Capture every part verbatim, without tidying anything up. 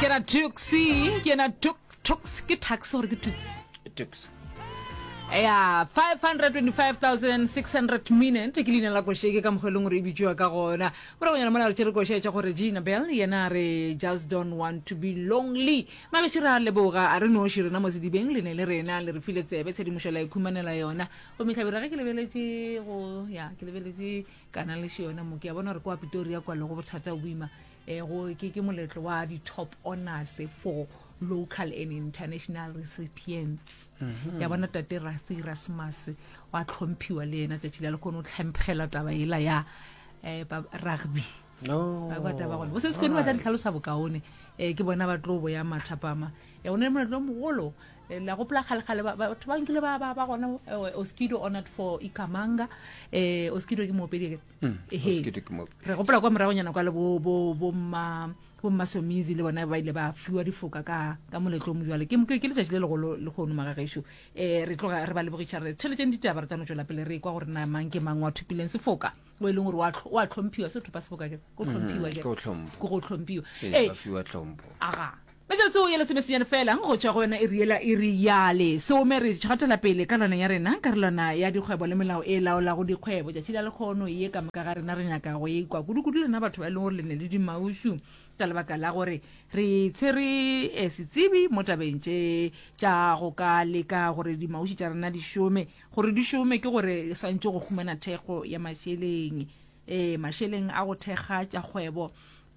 Ke na Tuxi, ke na Tux, Tux, ke Tux gore ke Tux. Tux. Ya, five hundred twenty-five thousand six hundred minute ke leina la koše ke ka mokgwa e leng gore e bitšiwa ka gona. Moragonyana mola re tšere koše tša gore Gina Bell yena a re just don't want to be lonely. Mabeši re a leboga, a re noši rena mo sedibeng le ne le rena le re file tsebe tshedimošo la ikhumanela yona. Gomme Hlabirwa ge ke lebeletše go ya ke lebeletše kana le yona mo ke a bona gore kwa Pretoria kwa le go bothata bo boima eh go ke ke moletlo wa di top honors for local and international recipients. Ya bona tate Rassie Erasmus wa tlhomphiwa le yena tšatši la le kgone o tlhemphela taba ela ya eh ba rugby. No. Ba kwa taba gona. Bo se sekone ba tla di tlhalosa bokaone. Eh ke bona ba tlo boya mathapama. Eh o ne moletlo o mogolo. Eh, la gopola kgale-kgale ba- ba- batho ba nkile ba ba ba gona eh, Oskido honored for Ikamanga. Eh Oskido ke moopedi ke. Ehe. Oskido ke moopedi. Re gopola kwa moragonyana kwa le bo bo bo mma bo mma Somizi le bona ba ile ba fiwa difoka ka ka moletlo o mojwale. Ke ke ke letšatši le legolo le kgono magagešo. Eh re tloga re ba lebogiša re theletšeng ditaba re tla no tšwela pele re kwa gore na mang ke mang wa thopileng sefoka o e leng gore wa tlho- wa tlhomphiwa se thopa sefoka ke go tlhomphiwa ke ke go hlompho. ke go tlhomphiwa. Ee, Eh ba fiwa tlhompho. aga metsotso ye lesomesenyane fela go tšwa go yona e riela e re yale some re gatela pele ka lona ya rena karolwana ya dikgwebo le melao e laolago dikgwebo. Tšatši la lekgono ye ka moka ga rena re nyaka go e kwa kudu-kudu lena batho ba e leng gore le ne le dimaušu ka lebaka la gore re tshwere eh, setsebi mo tabeng tše tša go ka leka gore dimaušu tša rena di šome. Gore di šome ke gore swantše go humana thekgo ya mašeleng, eh mašeleng a go thekga tša kgwebo.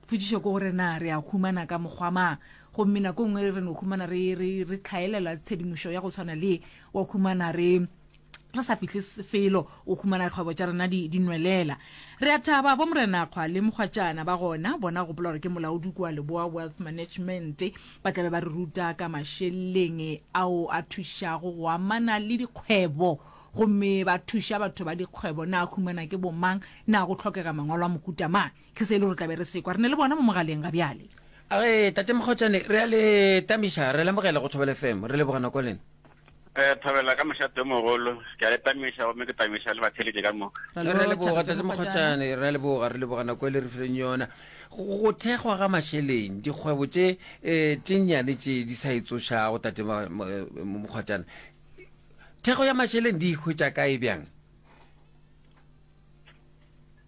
Potšišo ke gore na re a humana ka mokgwa mang, gomme nako nngwe re no humana re re re tlhaelela tshedimošo ya go tshwana le wa humana re re sa fihle felo o humana kgwebo tša rena di di nwelela. Re a thaba bo morenakgwa le mokgwatšana ba gona bona gopola gore ke molaodi kua Leboa Wealth Management ba tlabe ba re ruta ka mašeleng ao a thušago go amana le dikgwebo, gomme ba thuša batho ba dikgwebo na humana ke bomang, na go tlhokega mangwalo a mohuta mang. Ke se e le gore tlabe re sekwa re ne le bona mo mogaleng ga bjale. Age tate Mokgotšane, re a le tamiša, re lemogela go Thobela F M, re leboga nako lena. Eh Thobela ka mošate o mogolo, ke a le tamiša gomme ke tamiša le batheletše ka moka. Re a leboga tate Mokgotšane, re a leboga, re leboga nako e le re fileng yona. Go thekgwa ga mašeleng, dikgwebo tše eh tše nnyane tše di sa itsošago tate Mokgotšane, thekgo ya mašeleng di ikhwetša kae bjang?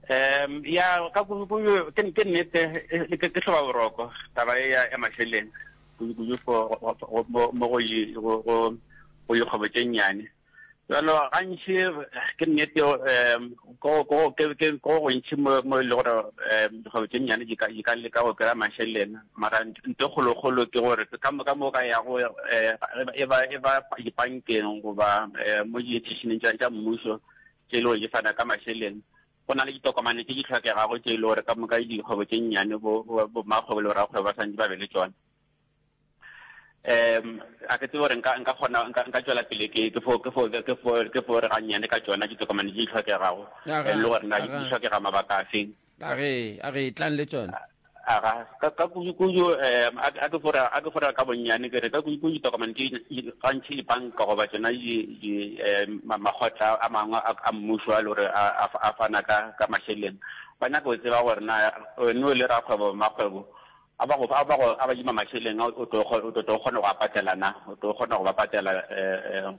Um ya ka kudu ke ke nnete ke ke hloba boroko taba e ya ya mašeleng kudu kudu for mo go go go go dikgwebo tše nnyane. Jalo gantši ke nnete um ko ko ke ke ko gontši mo mo e le gore um dikgwebo tše nnyane di ka di ka leka go kry-a mašeleng, mara nto kgolokgolo ke gore ka mo ka mo ka yago e ba e ba dibankeng goba mo di-institutioneng tša tša mmušo tše e le gore di fana ka mašeleng, go na le ditokomane tše di tlhokegago tše e le gore ka moka dikgwebo tše nnyane bo bo mmakgwebo le borakgwebo ba santse ba be le tšona. Um a ke tsebe gore nka nka kgona nka nka tšwela pele ke ke fo ke fo ke fo ke fo re gannyane ka tšona ditokomane tše di tlhokegago le gore na di tlhokega mabaka a feng. Age age tlang le tšona. Aga ka ka kudu kudu um a ke fo a ke fo ka bonnyane ke re ka kudu kudu ditokomane tše gantši dibanka goba tšona di di makgotla a mangwe a mmušo a le gore a fana ka ka mašeleng, ba nyaka go tseba gore na wena o le rakgwebo mmakgwebo a ba go a ba go a ba dima mašeleng o tlo o tlo kgona go a patela na, o tlo kgona go ba patela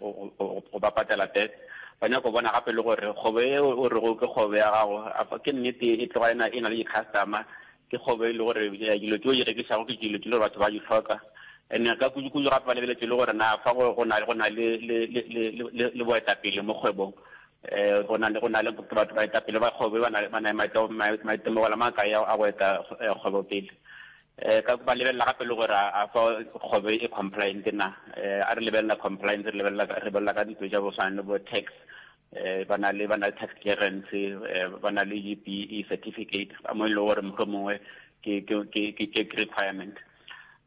go ba patela back. Ba nyaka go bona gape le gore kgwebo e o rego ke kgwebo ya gago ke nnete e tloga e na le di-customer, ke kgwebo e le gore dilo tšeo di rekišago ke dilo tše le gore batho ba di hloka. And ka kudu kudu gape ba lebeletše le gore na fa go na go na le le le le le boetapele mo kgwebong, eh go na le go na le batho baetapele ba kgwebo ba na ba na maitemogelo a makae a go eta kgwebo pele. Eh ka ba lebelela gape le gore a fa kgwebo e compliant na, eh a re lebelela compliance re lebelela re lebelela ka dilo tša go swana le bo tax, eh ba na le ba na le tax clearance, ba na le G P E certificate mo e le gore mohlomongwe ke ke ke ke ke requirement.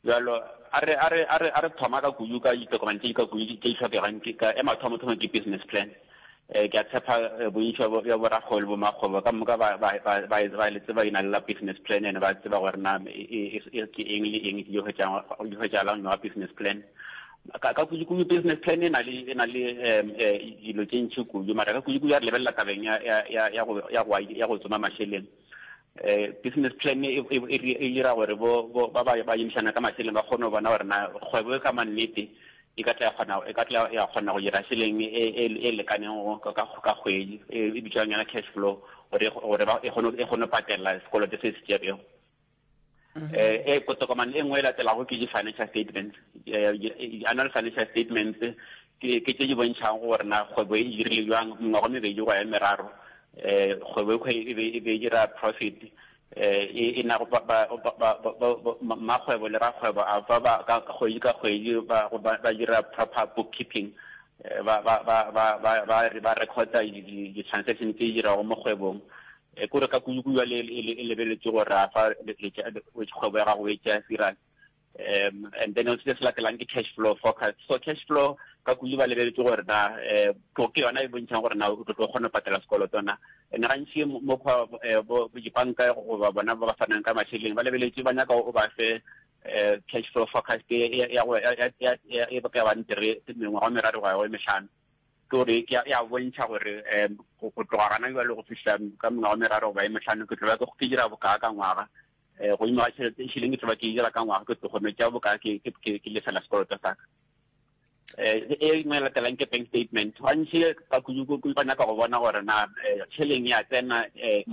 Jalo a re a re a re a re thoma ka kudu ka ditokomane tše di ka kudu tše di tlhokegang ke ka e mathomo thomo ke business plan. Eh ke a tshepa bontši bja borakgwebo le bomakgwebo ka moka ba ba ba ba le tseba e na le la business plan, ene ba tseba gore na ke eng le eng di hwetšang di hwetšalang wa business plan. Ka ka kudu kudu business plan e na le e na le dilo tše ntši kudu, mara ka kudu kudu ya re lebelela tabeng ya ya ya ya go ya go ya go tsoma mašeleng. Eh, business plan e e e e dira gore bo bo ba ba ba emišana ka mašeleng ba kgone go bona gore na kgwebo e ka mannete e ka tla ya kgona e ka tla ya kgona go dira šeleng e e e lekaneng go ka ka kgwedi e bitswang yona cash flow gore gore ba e kgone e kgone patela sekoloto se se tšerego. Eh e tokomane e nngwe e latelago ke di-financial statements, annual financial statements ke ke tše di bontšhang gore na kgwebo e dirile jwang mengwaga mebedi go ya meraro. Eh kgwebo e be e be dira profit, eh e na go ba ba ba makgwebo le rakgwebo a ba ba ka kgwedi ka kgwedi ba ba dira proper bookkeeping, ba ba ba ba ba ba ba recorda di-transaction tse di dirago mo kgwebong. E kore ka kudu kudu le e lebeletse gore a fa kgwebo ya gago e tšea serious. um and then se se latelang ke cash flow forecast. So cash flow ka kudu ba lebeletse gore na eh ke yona e bontšhang gore na o tlo kgona go patela sekoloto na. And gantši mo bo dibanka goba bona ba ba fanang ka mašeleng ba lebeletse ba nyaka o ba fe eh cash flow forecast ya go ya e ka bang three mengwaga meraro go ya go e mehlano, ke gore ke ya bontšha gore um go tloga gana jwale go fihla ka mengwaga meraro goba e mehlano ke tlo ba ke dira bokaa ka ngwaga, um godimo ga tšhelete šeleng ke tlo ba ke dira ka ngwaga ke tlo kgone tša bokaa ke ke lefela sekoloto sa ka. Eh e nngwe e latelang ke bank statement. Gantši ka kudu ba nyaka go bona gore na tšheleng ya tsena mo